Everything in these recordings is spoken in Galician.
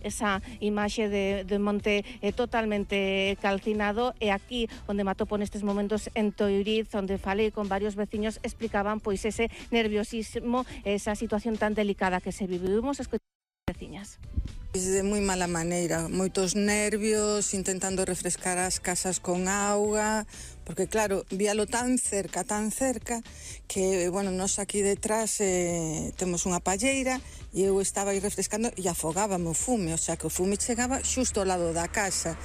esa imaxe de monte totalmente calcinado, e aquí onde me atopo nestes momentos en Touriz, onde falei con varios veciños, explicaban pois ese nerviosismo, esa situación tan delicada que se vivimos. Escoitamos as veciñas. De moi mala maneira, moitos nervios, intentando refrescar as casas con auga, porque claro, víalo tan cerca, que, bueno, nós aquí detrás temos unha palleira e eu estaba aí refrescando e afogábame o fume, o sea que o fume chegaba xusto ao lado da casa.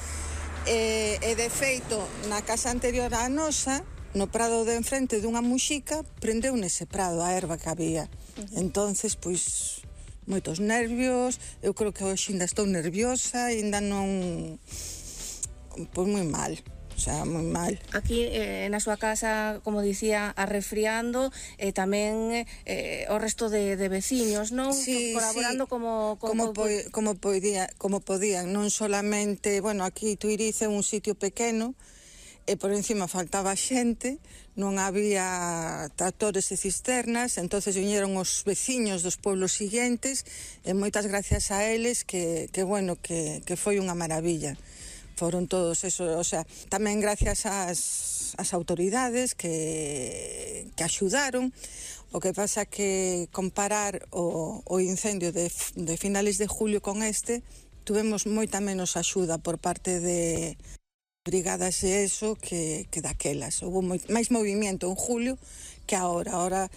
E de feito, na casa anterior á nosa, no prado de enfrente dunha muxica, prendeu nese prado a erva que había. Entonces, pois, moitos nervios, eu creo que hoxe ainda estou nerviosa, ainda non... Pois moi mal, o sea, moi mal. Aquí na súa casa, como dicía, arrefriando, e tamén o resto de veciños, non? Sí, colaborando sí. Como podían, non solamente, bueno, aquí Tuiriz é un sitio pequeno, e por encima faltaba xente, non había tractores e cisternas, entonces viñeron os veciños dos pueblos siguientes, e moitas gracias a eles que foi unha maravilla. Foron todos eso, o sea, tamén gracias ás autoridades que axudaron. O que pasa que comparar o incendio de finales de julio con este, tuvemos moita menos axuda por parte de brigadas e eso que daquelas. Houve máis movimento en julio que ahora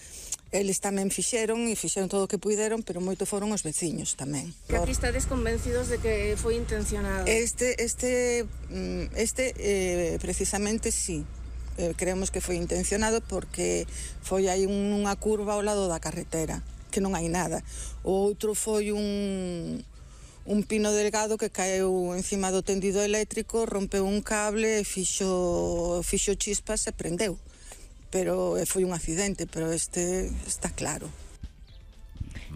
eles tamén fixeron todo o que puideron, pero moito foron os veciños tamén. Que aquí estades convencidos de que foi intencionado? Precisamente sí. Creemos que foi intencionado porque foi aí unha curva ao lado da carretera, que non hai nada. O outro foi un pino delgado que caeu encima do tendido eléctrico, rompeu un cable, fixo chispas e prendeu. Pero foi un accidente, pero este está claro.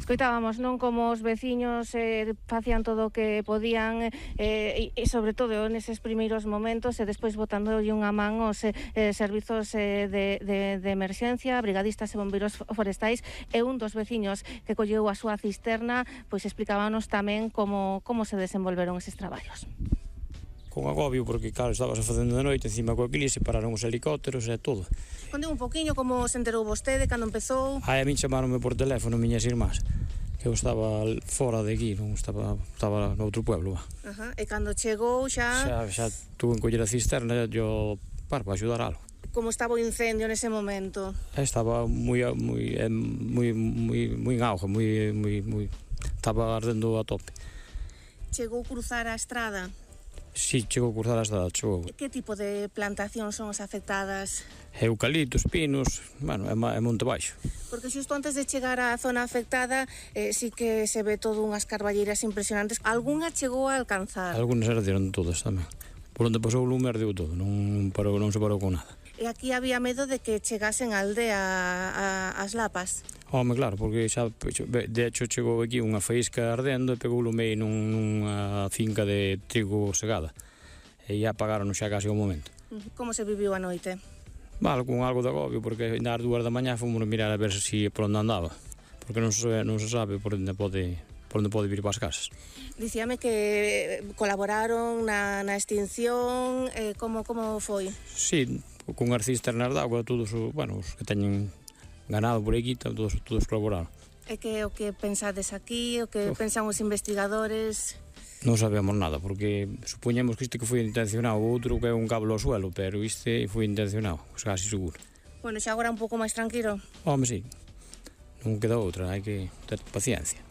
Escoitábamos, non, como os veciños facían todo o que podían, e sobre todo neses primeiros momentos, e despois botándolle unha man aos servizos de emerxencia, brigadistas e bombeiros forestais, e un dos veciños que colleu a súa cisterna, pois explicábanos tamén como se desenvolveron eses traballos. Con agobio, porque claro, estabas facendo de noite encima coa eclipse, pararon os helicópteros e todo. Conte un poquinho como se enterou vostede cando empezou. A min chamaronme por teléfono miñas irmás, que eu estaba fora de aquí, non estaba no outro pueblo. E cando chegou xa tuve que coller a cisterna para axudar algo. Como estaba o incendio nese momento? Estaba moi en auge, estaba ardendo a tope. Chegou cruzar a estrada? Si, chegou a cruzar a estrada, chegou. Que tipo de plantacións son as afectadas? Eucaliptos, pinos, bueno, é monte baixo. Porque xusto antes de chegar á zona afectada, sí que se ve todo unhas carballeiras impresionantes. Algúna chegou a alcanzar? Algúnas arderon todas tamén. Por onde pasou o lume ardeu todo, non se parou con nada. E aquí había medo de que chegasen a aldea as lapas? Home, claro, porque xa, de hecho, chegou aquí unha faísca ardendo e pegou o lume nunha finca de trigo segada. E xa apagaron xa case o momento. Como se viviu a noite? Vale, con algo de agobio, porque ás 2 da mañá fomos mirar a ver se por onde andaba. Porque non se sabe por onde pode vir para as casas. Dicíame que colaboraron na extinción, como foi? Sí, con as cisternas de agua, todos os que teñen ganado por aquí, todos colaboraron. E que o que pensades aquí, o que pensan os investigadores? Non sabemos nada, porque supoñemos que isto que foi intencionado, o outro que é un cable ao suelo, pero este foi intencionado, casi seguro. Bueno, xa agora un pouco máis tranquilo? Home, sí, non queda outra, hai que ter paciencia.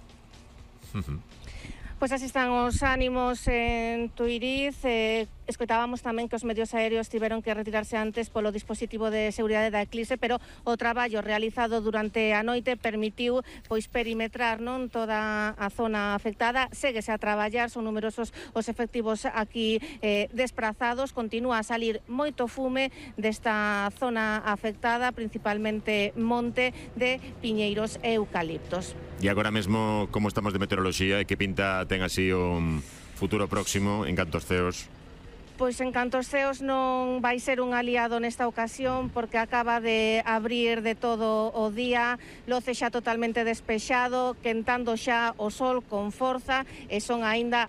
Pois así están os ánimos en Tuiriz. Escoitábamos tamén que os medios aéreos tiveron que retirarse antes polo dispositivo de seguridade da eclipse, pero o traballo realizado durante a noite permitiu pois perimetrar non toda a zona afectada. Séguese a traballar, son numerosos os efectivos aquí desprazados. Continúa a salir moito fume desta zona afectada, principalmente monte de piñeiros e eucaliptos. E agora mesmo, como estamos de meteoroloxía e que pinta ten así o futuro próximo en canto aos ceos? Pois en canto aos ceos non vai ser un aliado nesta ocasión, porque acaba de abrir de todo o día, loce xa totalmente despexado, quentando xa o sol con forza, e son aínda